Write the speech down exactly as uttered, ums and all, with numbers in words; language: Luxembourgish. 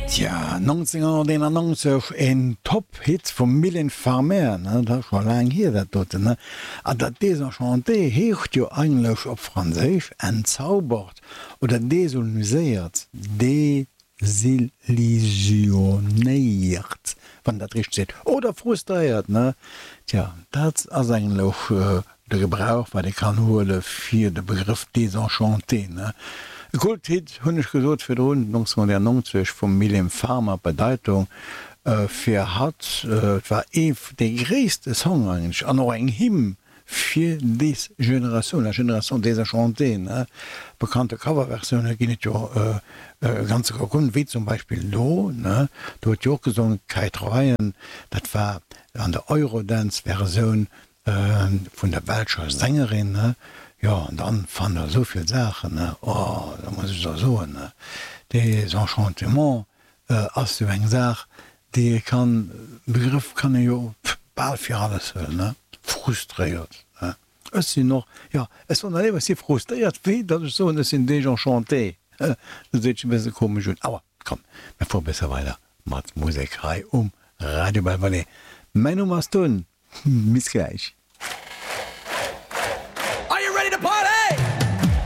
Tja, nonzénghonnerteenannonzeg, en Top-Hit vum Mylène Farmer, ne, dat ass scho laang hier dat doten, ne? An dat Désenchanté heescht jo eigentlech op Franséisch entzaubert oder desilluséiert, desillusionéiert, wann dat richteg seet, oder frustréiert, ne? Tja, dat ass eigentlech de Gebrauch, wat ee kann huele fir de Begrëff Désenchanté, ne? E Kulthit, hunn ech gesot virdrun, nonzénghonnertnonzeg vum Mylène Farmer. D'Bedeitung fir hatt, et war ee dee gréisste Song eigentlech an och eng Hymn fir des Generatioun, la génération désenchantée, ne? Bekannte Coverversioune ginn et jo e ganze Kocun, wéi zum Beispill do, ne? Do huet jo och gesongen d'Kate Ryan, dat war an der Eurodance-Versioun vun der belscher Sängerin, ne? Jo, an dann fannt der esou vill Saachen, ne? Oh, da muss ech der soen, ne, Désenchantement ass jo eng Saach, déi ee kann, Begrëff kann ee jo bal fir alles huelen, ne? Frustréiert, ne? Ech sinn och, jo, ech soen der léiwer, ech si frustréiert, wéi datt ech soen, ech sinn désenchanté. Dat seet sech e bësse komesch un. Awer komm, mir fuere bësse weider mat Musek hei um Radio Belvallet. Mäin Numm ass Tun. Bis gläich.